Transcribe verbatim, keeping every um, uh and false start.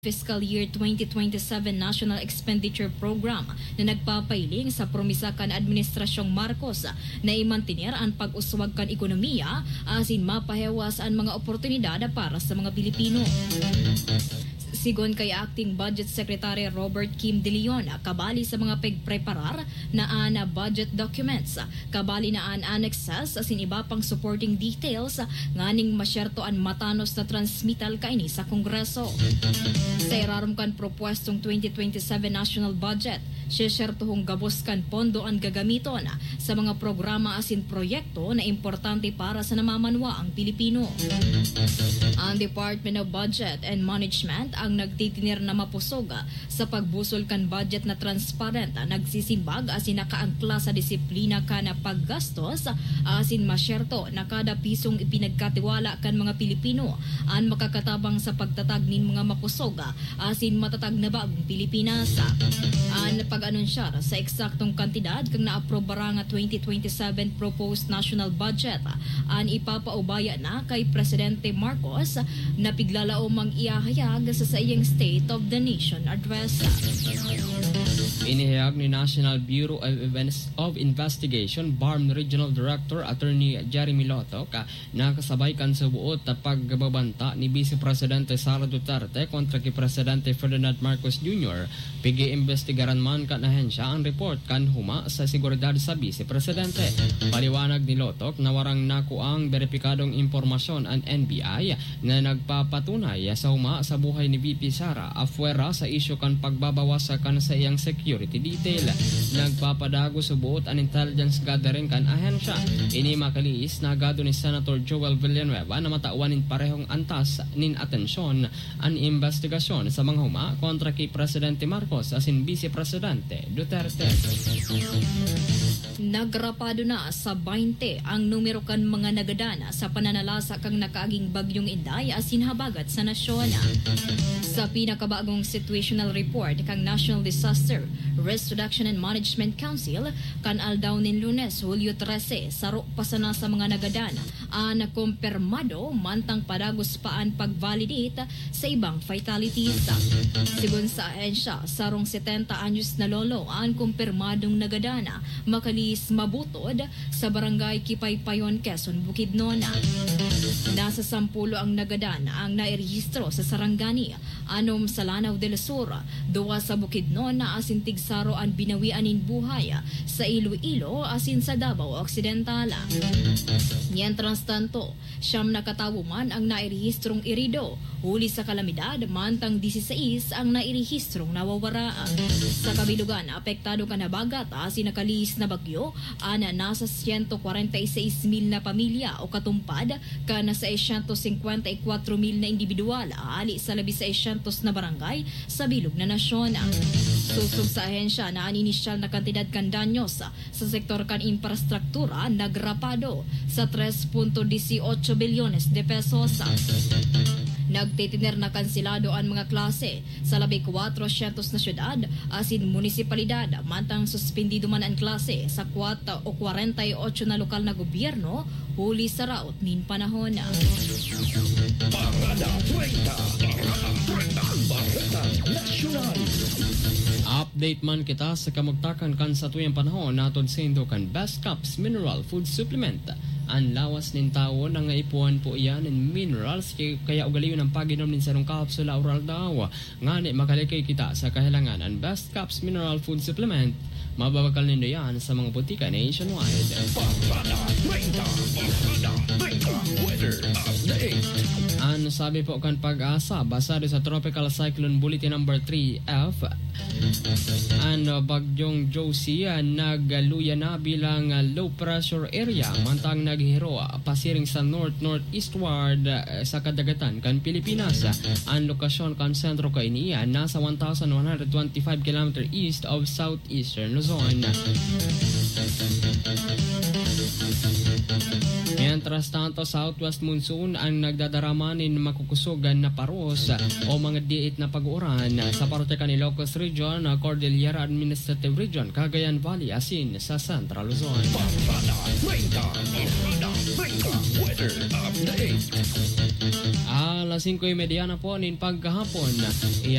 Fiscal Year twenty twenty-seven National Expenditure Program na nagpapailing sa promisa kan Administrasyong Marcos na imantener an pag-uswag kan ekonomiya asin mapahewas an mga oportunidad para sa mga Pilipino. Sigon kay Acting Budget Secretary Robert Kim De Leon, kabali sa mga pagpreparar na an budget documents, kabali na an annexes asin iba pang supporting details nganing masyerto an matanos na transmittal kaini sa Kongreso. Sa irarom kan propwestong twenty twenty-seven national budget, sesyertohong gabos kan pondo an gagamiton sa mga programa asin proyekto na importante para sa namamanwaang Pilipino. Ang Department of Budget and Management ang nagtitiner na mapusog sa pagbusol kan budget na transparent, nagsisimbag asin nakaangkla sa disiplina kan paggastos, asin masyerto na kada pisong ipinagkatiwala kan mga Pilipino an makakatabang sa pagtatag nin mga makusog asin matatag na bagong Pilipinas. An pag-anunsyar sa eksaktong kantidad kan naaprobarang twenty twenty-seven proposed national budget an ipapaubaya na kay Presidente Marcos na piglalaom ang ihahayag sa saiyang State of the Nation Address. Inihayag ni National Bureau of Invest-, of Investigation, BARMM Regional Director Attorney Jeremy Lotok, ah, na kasabay kan subuot na pagbabanta ni Vice Presidente Sara Duterte kontra ki Presidente Ferdinand Marcos Junior, pig-iimbestigaran man kan ahensya an report kan huma sa seguridad sa Vice Presidente. Paliwanag ni Lotok na warang nakuang beripikadong impormasyon an N B I na nagpapatunay sa huma sa buhay ni V P Sara, apwera sa isyu kan pagbabawas kan saiyang security detail. Nagpapadagos subuot an intelligence gathering kan ahensya. Ini makalihis na agado ni Senator Joel Villanueva na matawan nin parehong antas nin atensyon an imbestigasyon sa mga huma kontra ki Presidente Marcos asin Vice Presidente Duterte. Nagrapado na sa baynte ang numero kan mga nagadan sa pananalasa kan nakaaging Bagyong Inday asin habagat sa nasyon. Sa pinakabagong situational report kan National Disaster Risk Reduction and Management Council, kan aldaw nin Lunes, Hulyo trese, saro pa sana sa mga nagadan an kumpirmado, mantang padagos pa an pag-validate sa ibang fatalities. Sigon sa ahensya, sarong setenta anyos na lolo an kumpirmadong nagadan, makalihis mabutod, sa Barangay Kipaypayon, Quezon, Bukidnon. Nasa sampulo ang nagadan ang nairehistro sa Sarangani, anom sa Lanao del Sur, duwa sa Bukidnon asin tigsaro an binawian nin buhay sa Iloilo asin sa Davao Occidental. Mientras tanto, siyam na katawo man ang nairehistrong irido huli sa kalamidad, mantang dieciséis ang nairehistrong nawawara. Sa kabilugan, apektado kan habagat asin nakalihis na bagyo an nasa siyento kwarenta y seis mil na pamilya o katumpad kan seiscientos cincuenta y cuatro mil na indibidwal hali sa labi seiscientos na barangay sa bilog na nasyon. Sosog sa ahensya na an inisyal na kantidad kan danyos sa sektor kan infrastruktura nagrapado sa tres punto dieciocho bilyones de pesos. Nagtitiner na kanselado an mga klase sa labi kwatrosyentos na syudad asin munisipalidad, mantang suspindido man an klase sa kwat o kwarenta y ocho na lokal na gobyerno huli sa raot nin panahon. Parada treinta. Parada treinta. Bareta Nasyonal. Update man kita sa kamugtakan kan satuyang panahon, hatod saindo kan Best Caps Mineral Food Supplement. An lawas nin tawo nangaipuhan po iyan nin minerals, kaya ugalion ang pag-inom nin sarong kapsula oral-daw. Ngani makalikay kita sa kahelangan, an Best Caps Mineral Food Supplement, mababakal nindo yan sa mga botika nationwide. Parada treinta, Parada treinta, weather update. An sabi po kan Pag-asa, basado sa Tropical Cyclone Bulletin Number three F, an, uh, Bagyong Josie, uh, nagluya na bilang, uh, low pressure area, mantang naghihiro, uh, pasiring sa north-northeastward, uh, sa kadagatan kan Pilipinas. An lokasyon kan sentro kaini, uh, nasa one thousand one hundred twenty-five kilometer east of southeastern Luzon. Mientras tanto, southwest monsoon ang nagdadarama nin makukusog na paros o mga diit na pag-uuran sa parte kan Ilocos Region, Cordillera Administrative Region, Cagayan Valley, asin sa Central Luzon. Parada treinta, Parada treinta, weather update. Alas singko y media na po nin paghahapon.